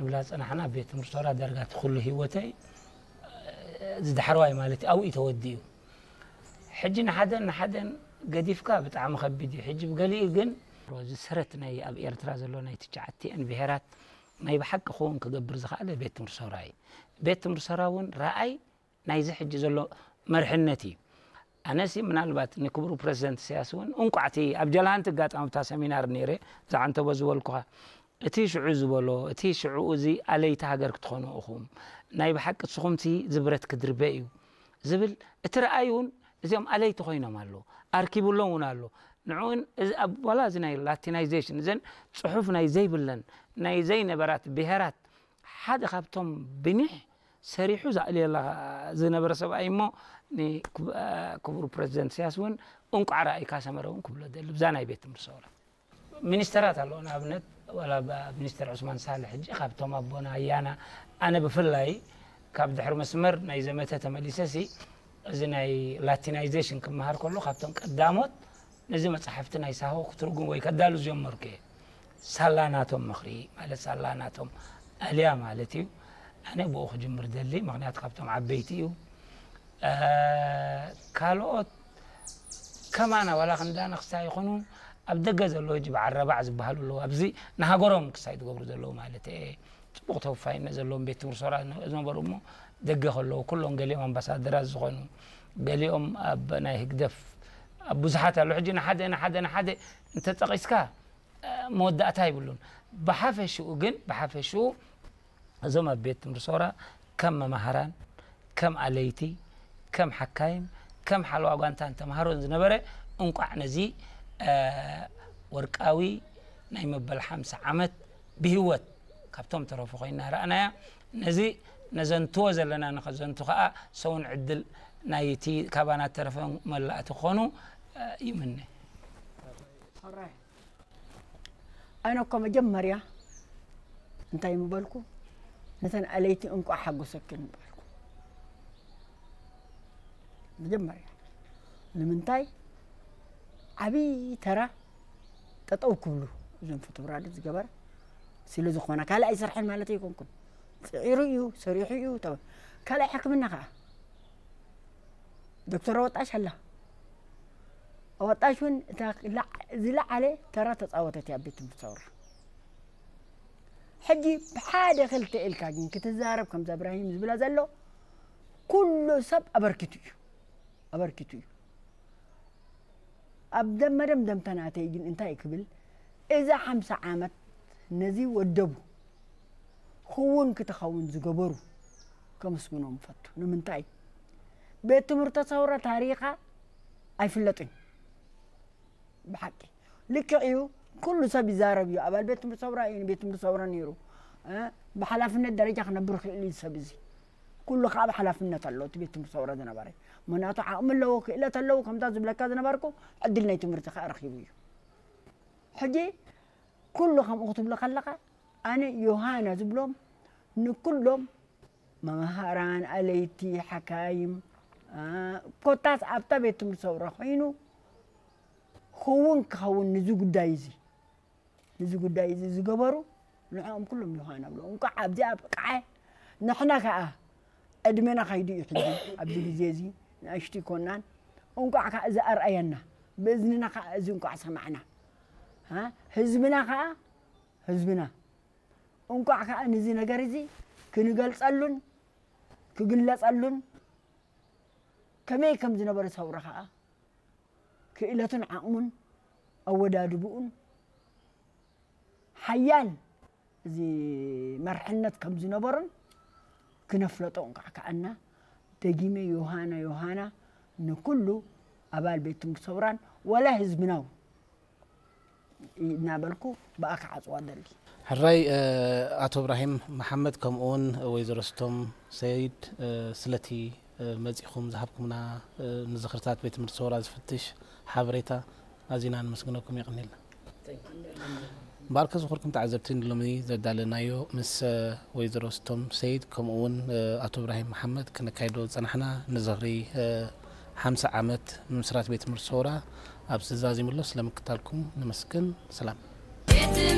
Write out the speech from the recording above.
ንብላ ዝጸናሕና ኣብ ቤት ትምህርቲ ሰውራ ዳርጋ እቲ ኩሉ ህይወተይ፣ እዚ ዳሕረዋይ ማለት ኣብኡ እዩ ተወዲኡ። ሕጂ ንሓደን ንሓደን ገዲፍካ ብጣዕሚ ከቢድ እዩ። ሕጂ ብገሊኡ ግን እዚ ሰረት ናይ ኣብ ኤርትራ ዘሎ ናይ ትሽዓቲኤን ብሄራት ናይ ብሓቂ ክውን ክገብር ዝኸኣለ ቤት ትምህርቲ ሰውራ እዩ። ቤት ትምህርቲ ሰውራ እውን ረኣይ ናይዚ ሕጂ ዘሎ መርሕነት እዩ። ኣነሲ ምናልባት ንክቡር ፕረዚደንት ኢሳያስ እውን እንቋዕ እቲ ኣብ ጀልሃንቲ ኣጋጣሚ ኣብታ ሰሚናር ነይረ፣ እዛ ዓንተቦ ዝበልኩኻ፣ እቲ ሽዑ ዝበሎ፣ እቲ ሽዑ እዚ ኣለይቲ ሃገር ክትኾኑ ኢኹም፣ ናይ ብሓቂ ንስኹምሲ ዝብረት ክድርበ እዩ ዝብል እቲ ረኣይ እውን እዚኦም ኣለይቲ ኮይኖም ኣለዉ። ኣርኪቡሎም እውን ኣሎ። ንዕኡን እዚ ኣብ ዋላ እዚ ናይ ላቲናይዜሽን እዘን ጽሑፍ ናይ ዘይብለን ናይ ዘይነበራት ብሄራት ሓደ ካብቶም ብኒሕ ሰሪሑ ዘእልየላ ዝነበረ ሰብኣይ እሞ ንክቡር ፕረዚደንት ኢሳያስ እውን እንቋዕ ረኣይካ ሰመረ እውን ክብሎ ደሊ ብዛ ናይ ቤት ትምህርቲ ሰውራ። ሚኒስተራት ኣለዎ። ንኣብነት ዋላ ብ-፣ ሚኒስተር ዑስማን ሳልሕ ሕጂ ካብቶም ኣቦና ኣያና፣ ኣነ ብፍላይ ካብ ድሕሪ መስመር ናይ ዘመተ ተመሊሰ ሲ እዚ ናይ ላቲናይዜሽን ክመሃር ከሎ ካብቶም ቀዳሞት ነዚ መጽሓፍቲ ናይ ሳሆ ክትርጉም ወይ ከዳሉ ዝጀመርኩ እየ። ሳላ ናቶም ምኽሪ ማለት ሳላ ናቶም ኣልያ ማለት እዩ። ኣነ ብኡ ክጅምር ደሊ፣ ምኽንያቱ ካብቶም ዓበይቲ እዩ። እ፣ ካልኦት ከማና ዋላ ክንዳ ነኽስታ ይኹኑ ኣብ ደገ ዘለዉ ሕጂ በዓል ረባዕ ዝበሃሉ ኣለዉ። ኣብዚ ንሃገሮም ክሳይ ዝገብሩ ዘለዉ ማለት እየ። ጽቡቕ ተወፋይነት ዘለዎም ቤት ትምህርቲ ሰውራ ዝነበሩ እሞ ደገ ከለዉ ኩሎም ገሊኦም ኣምባሳደራት ዝኾኑ፣ ገሊኦም ኣብ ናይ ህግደፍ ኣብ ብዙሓት ኣለዉ። ሕጂ ንሓደ ንሓደ ንሓደ እንተጠቒስካ መወዳእታ ይብሉን። ብሓፈሽኡ ግን፣ ብሓፈሽኡ እዞም ኣብ ቤት ትምህርቲ ሰውራ ከም መማህራን፣ ከም ኣለይቲ፣ ከም ሓካይም፣ ከም ሓለዋ ጓንታን ተምሃሮን ዝነበረ፣ እንቋዕ ነዚ፣ እ፣ ወርቃዊ ናይ መበል ሓምሳ ዓመት ብህይወት ካብቶም ተረፉ ኮይና ረኣናያ። ነዚ ነዘንትዎ ዘለና ንኸዘንቱ ከኣ ሰውን ዕድል ናይቲ ካባና ተረፈ መላእቲ ክኾኑ፣ እ፣ ይምነ። ኣነ እኮ መጀመርያ እንታይ ምበልኩ? ነተን ኣለይቲ እንቋዕ ሓጎሰክን ምበልኩ። መጀመርያ ንምንታይ ዓብዪ ተራ ጠጠው ክብሉ እዞም ፎቶብራድ ዝገበረ ስለ ዝኾነ፣ ካልእ ኣይሰርሐን ማለት ኣይኮንኩን። ጽዒሩ እዩ፣ ሰሪሑ እዩ። ተበ-፣ ካልኣይ ሕክምና ከኣ ዶክተር ኣወጣሽ ኣላ። ኣወጣሽ እውን እታ ላ-፣ ዝለዓለ ተራ ተጻወተት እያ ኣብ ቤት ትምህርቲ ሰውራ። ሕጂ ብሓደ ክልተ ኢልካ ግን ክትዛረብ ከምዛ እብራሂም ዝብላ ዘሎ ኩሉ ሰብ ኣበርኪቱ እዩ፣ ኣበርኪቱ እዩ። ኣብ ደም መደምደምታ ናተይ ግን እንታይ ክብል፣ እዛ ሓምሳ ዓመት ነዚ ወደቡ ክውን ክትኸውን ዝገበሩ ከመስግኖም እፈቱ። ንምንታይ? ቤት ትምህርቲ ሰውራ ታሪኻ ኣይፍለጥን። ብሓቂ ልክዕ እዩ። ኩሉ ሰብ ይዛረብ እዩ። ኣባል ቤት ትምህርቲ ሰውራ እዩ፣ ቤት ትምህርቲ ሰውራ ነይሩ። እ፣ ብሓላፍነት ደረጃ ክነብር ክእል እዩ ሰብ እዚ። ኩሉ ከዓ ብሓላፍነት ኣሎ እቲ ቤት ትምህርቲ ሰውራ ዝነበረ። ምክንያቱ ዓቕሚ ኣለዎ፣ ክእለት ኣለዎ። ከምታ ዝብለካ ዝነበርኩ ዕድል ናይ ትምህርቲ ከዓ ረኺቡ እዩ። ሕጂ ኩሉ ከምኡ ክትብሎ ከለኻ ኣነ ዮሃና ዝብሎም ንኩሎም መምሃራን፣ ኣለይቲ፣ ሓካይም፣ እ፣ ኮታስ ኣብታ ቤት ትምህርቲ ሰውራ ኮይኑ ክውን ክኸውን ንዚ ጉዳይ እዚ፣ ንዚ ጉዳይ እዚ ዝገበሩ ንዕኦም ኩሎም ዮሃና ብሎ። እንቋዕ ኣብዚኣ ኣብቅዐ። ንሕና ከኣ ዕድመና ከይዱ እዩ ሕጂ ኣብዚ ግዜ እዚ ንኣሽቱ ይኮናን። እንቋዕ ከኣ እዚ ኣርኣየና፣ ብእዝንና ከኣ እዚ እንቋዕ ሰማዕና። ሃ? ህዝብና ከኣ፣ ህዝብና እንቋዕ ከኣ ንዚ ነገር እዚ ክንገልጸሉን ክግለጸሉን ከመይ ከም ዝነበረ ሰውራ ከኣ ክእለቱን ዓቕሙን ኣወዳድብኡን ሓያል እዚ መርሕነት ከም ዝነበሮን ክነፍለጦ እንቋዕ ከኣና። ደጊመ ዮሃና ዮሃና ንኩሉ ኣባል ቤት ትምህርቲ ሰውራን ወላ ህዝብና እውን እናበልኩ ብኣ ክዓጽዋ ደሊ። ሕራይ፣ እ፣ ኣቶ እብራሂም መሓመድ ከምኡ እውን ወይዘሮ ስቶም ሰይድ፣ እ፣ ስለቲ፣ እ፣ መጺኹም ዝሃብኩምና፣ እ፣ ንዝኽርታት ቤት ትምህርቲ ሰውራ ዝፍትሽ ሓበሬታ ኣዚና ንመስግነኩም። የቐንየልና። እምበኣርከ ዝኸበርኩም ተዓዘብቲ ንሎሚ ዘዳለናዮ ምስ፣ እ፣ ወይዘሮ ስቶም ሰይድ ከምኡ እውን፣ እ፣ ኣቶ እብራሂም መሓመድ ክነካይዶ ዝጸናሕና ንዝኽሪ፣ እ፣ ሓምሳ ዓመት ምምስራት ቤት ትምህርቲ ሰውራ ኣብዚ ተዛዚሙ ኣሎ። ስለምክታልኩም ነመስግን። ሰላም።